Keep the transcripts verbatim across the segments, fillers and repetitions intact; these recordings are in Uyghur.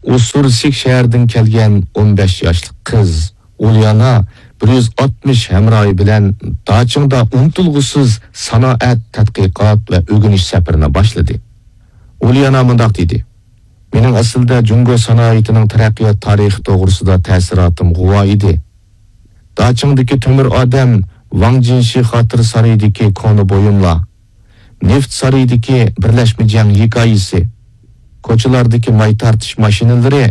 ئۇسسۇرسك شەھىرىدىن كەلگەن ئون بەش ياشلىق قىز ئۇليانا بىر يۈز ئاتمىش ھەمراھى بىلەن داچىڭدا ئۇنتۇلغۇسىز سانائەت، تەتقىقات ۋە ئۆگىنىش سەپىرىنى باشلىدى. ئۇليانا مۇنداق دېدى: مېنىڭ ئەسلىدە جۇڭگو سانائىتىنىڭ تەرەققىيات تارىخى توغرىسىدا تەسىراتىم غۇۋا ئىدى. داچىڭدىكى تۆمۈر ئادەم، ۋاڭ جىنشى خاتىرە سارىيىدىكى كونا بۇيۇملار، نېفىت سارىيىدىكى بىرلەشمە جەڭ ھېكايىسى، كوچىلاردىكى ماي تارتىش ماشىنىلىرى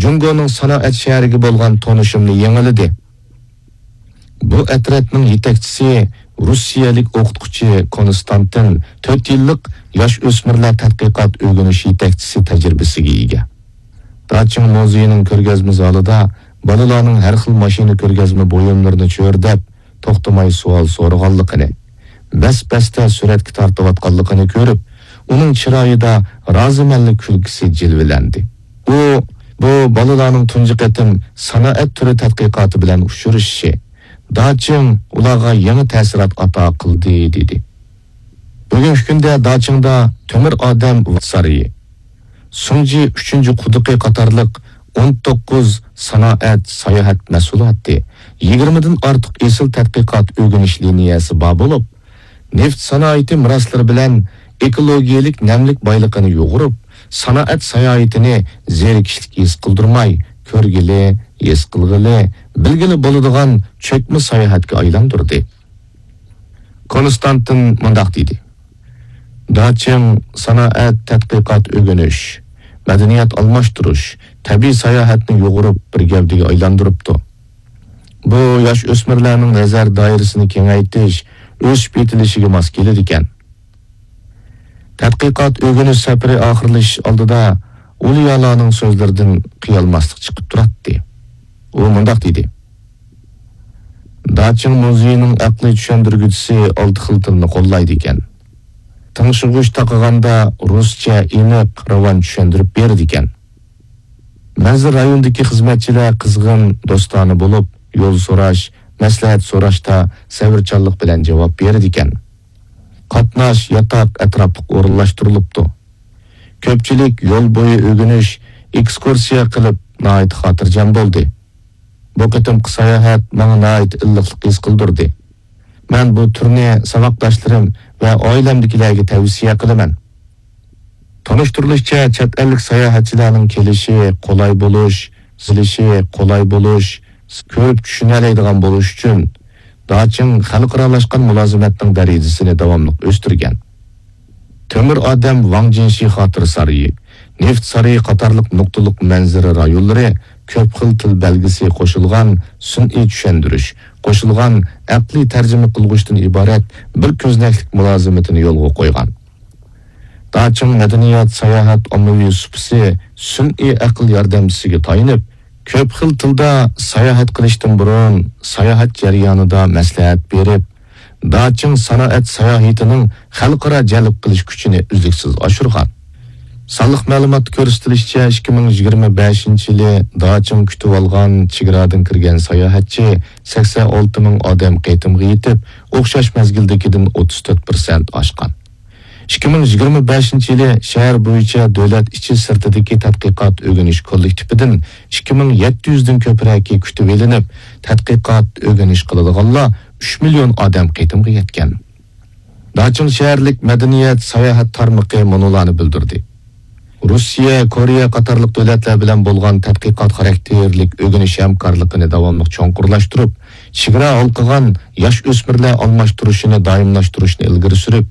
جۇڭگونىڭ سانائەت شەھىرىگە بولغان تونۇشۇمنى يېڭىلىدى. بۇ ئەترەتنىڭ يېتەكچىسى روسىيەلىك ئوقۇتقۇچى كونستانتىن تۆت يىللىق ياش ئۆسمۈرلەر تەتقىقات ئۆگىنىش يېتەكچىسى تەجرىبىسىگە ئىگە. داچىڭ مۇزېيىنىڭ كۆرگەزمە زالىدا بالىلارنىڭ ھەر خىل ماشىنا كۆرگەزمە بۇيۇملىرىنى چۆرىدەپ، توختىماي سوئال سورىغانلىقىنى، بەس-بەستە سۈرەتكە تارتىۋاتقانلىقىنى كۆرۈپ، ئۇنىڭ چىرايىدا رازىمەنلىك كۈلكىسى جىلۋىلەندى. ئۇ بۇ بالىلارنىڭ تۇنجى قېتىم سانائەت تۈرى تەتقىقاتى بىلەن ئۇچرىشىشى، داچىڭ ئۇلارغا يېڭى تەسىرات ئاتا قىلدى، دېدى. بۈگۈنكى كۈندە داچىڭدا تۆمۈر ئادەم سارىيى، سۇڭجى ئۈچىنچى قۇدۇقى قاتارلىق ئون توققۇز سانائەت، ساياھەت مەھسۇلاتى، يىگىرمىدىن ئارتۇق ئېسىل تەتقىقات ئۆگىنىش لىنىيەسى بار بولۇپ، نېفىت سانائىتى مىراسلىرى بىلەن ئېكولوگىيەلىك نەملىك بايلىقىنى يۇغۇرۇپ، سانائەت ساياھىتىنى زېرىكىشلىك ھېس قىلدۇرماي، كۆرگىلى، ھېس قىلغىلى، بىلگىلى بولىدىغان چۆكمە ساياھەتكە ئايلاندۇردى. كونستانتىن مۇنداق دېدى: داچىڭ سانائەت، تەتقىقات، ئۆگىنىش، مەدەنىيەت ئالماشتۇرۇش، تەبىئىي ساياھەتنى يۇغۇرۇپ بىر گەۋدىگە ئايلاندۇرۇپتۇ. بۇ ياش ئۆسمۈرلەرنىڭ نەزەر دائىرىسىنى كېڭەيتىش، ئۆسۈپ يېتىلىشىگە ماس كېلىدىكەن. تەتقىقات ئۆگىنىش سەپىرى ئاخىرلىشىش ئالدىدا ئۇليانانىڭ سۆزلىرىدىن قىيالماسلىق چىقىپ تۇراتتى. ئۇ مۇنداق دېدى: داچىڭ مۇزېيىنىڭ ئەقلىي چۈشەندۈرگۈچىسى ئالتە خىل تىلنى قوللايدىكەن. تىڭشىغۇچ تاقىغاندا رۇسچە ئېنىق، راۋان چۈشەندۈرۈپ بېرىدىكەن. مەنزىرە رايونىدىكى خىزمەتچىلەر قىزغىن، دوستانە بولۇپ، يول سوراش، مەسلىھەت سوراشتا سەۋرچانلىق بىلەن جاۋاب بېرىدىكەن. قاتناش، ياتاق ئەتراپلىق ئورۇنلاشتۇرۇلۇپتۇ. كۆپچىلىك يول بويى ئۆگىنىش، ئېكسكۇرسىيە قىلىپ ناھايىتى خاتىرجەم بولدى. بۇ قېتىمقى ساياھەت ماڭا ناھايىتى ئىللىقلىق ھېس قىلدۇردى. مەن بۇ تۈرنى ساۋاقداشلىرىم ۋە ئائىلەمدىكىلەرگە تەۋسىيە قىلىمەن. تونۇشتۇرۇلۇشىچە، چەت ئەللىك ساياھەتچىلەرنىڭ كېلىشى قولاي بولۇش، زىلىشى قولاي بولۇش، كۆرۈپ چۈشىنەلەيدىغان بولۇش ئۈچۈن، داچىڭ خەلقئارالاشقان مۇلازىمەتنىڭ دەرىجىسىنى داۋاملىق ئۆستۈرگەن. تۆمۈر ئادەم، ۋاڭ جىنشى خاتىرە سارىيى، نېفىت سارىيى قاتارلىق نۇقتىلىق مەنزىرە رايونلىرى كۆپ خىل تىل بەلگىسى قوشۇلغان سۈنئىي چۈشەندۈرۈش، قوشۇلغان ئەقلىي تەرجىمە قىلغۇچتىن ئىبارەت بىر كۆزنەكلىك مۇلازىمىتىنى يولغا قويغان. داچىڭ مەدەنىيەت، ساياھەت، ئاممىۋى سۇپىسى سۈنئىي ئەقىل ياردەمچىسىگە تايىنىپ، كۆپ خىل تىلدا ساياھەت قىلىشتىن بۇرۇن، ساياھەت جەريانىدا مەسلىھەت بېرىپ، داچىڭ سانائەت ساياھىتىنىڭ خەلقئارا جەلپ قىلىش كۈچىنى ئۈزلۈكسىز ئاشۇرغان. سانلىق مەلۇماتتا كۆرسىتىلىشىچە، ئىككى مىڭ يىگىرمە بەشىنچى يىلى داچىڭ كۈتۈۋالغان چېگرادىن كىرگەن ساياھەتچى سەكسەن ئالتە مىڭ ئادەم قېتىمغا يېتىپ، ئوخشاش مەزگىلدىكىدىن ئوتتۇز تۆت پىرسەنت ئاشقان. ئىككى مىڭ يىگىرمە بەشىنچى يىلى شەھەر بويىچە دۆلەت ئىچى سىرتىدىكى تەتقىقات ئۆگىنىش كوللېكتىپىدىن ئىككى مىڭ يەتتە يۈزدىن كۆپرەكى كۈتۈۋېلىنىپ، تەتقىقات ئۆگىنىش قىلىدىغانلار ئۈچ مىليون ئادەم قېتىمغا يەتكەن. داچىڭ شەھەرلىك مەدەنىيەت ساياھەت تارمىقى مۇنۇلارنى بىلدۈردى: رۇسىيە، كورېيە قاتارلىق دۆلەتلەر بىلەن بولغان تەتقىقات خاراكتېرلىك ئۆگىنىش ھەمكارلىقىنى داۋاملىق چوڭقۇرلاشتۇرۇپ، چېگرا ھالقىغان ياش ئۆسمۈرلەر ئالماشتۇرۇشىنى دائىملاشتۇرۇشنى ئىلگىرى سۈرۈپ،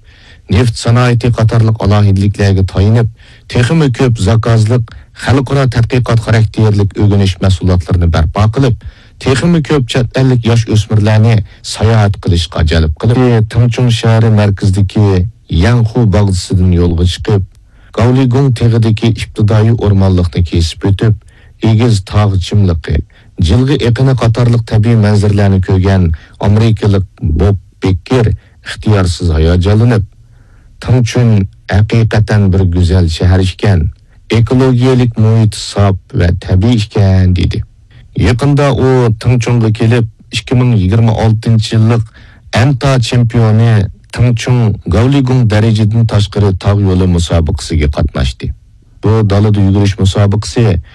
نېفىت سانائىتى قاتارلىق ئالاھىدىلىكلەرگە تايىنىپ، تېخىمۇ كۆپ زاكازلىق خەلقئارا تەتقىقات خاراكتېرلىك ئۆگىنىش مەھسۇلاتلىرىنى بەرپا قىلىپ، تېخىمۇ كۆپ چەت ئەللىك ياش ئۆسمۈرلەرنى ساياھەت قىلىشقا جەلپ قىلىپ، تىڭچۇڭ شەھىرى مەركىزىدىكى يەنخۇ باغچىسىدىن يولغا چىقىپ، گاۋلىگۇڭ تېغىدىكى ئىپتىدائىي ئورمانلىقنى كېسىپ ئۆتۈپ، ئېگىز تاغ چىملىقى، جىلغا ئېقىنى قاتارلىق تەبىئىي مەنزىرىلەرنى كۆرگەن ئامېرىكىلىق بوب بېككېر ئىختىيارسىز ھاياجانلىنىپ، تىڭچۈن ھەقىقەتەن بىر گۈزەل شەھەر ئىكەن، ئېكولوگىيەلىك مۇھىتى ساپ ۋە تەبىئىي ئىكەن، دېدى. يېقىندا ئۇ تىڭچۇڭغا كېلىپ، ئىككى مىڭ يىگىرمە ئالتىنچى يىللىق ئەنتا چېمپىيونى تىڭچۇڭ گاۋلىگۇڭ دەرىجىدىن تاشقىرى تاغ يولى مۇسابىقىسىگە قاتناشتى. بۇ دالىدا يۈگۈرۈش مۇسابىقىسى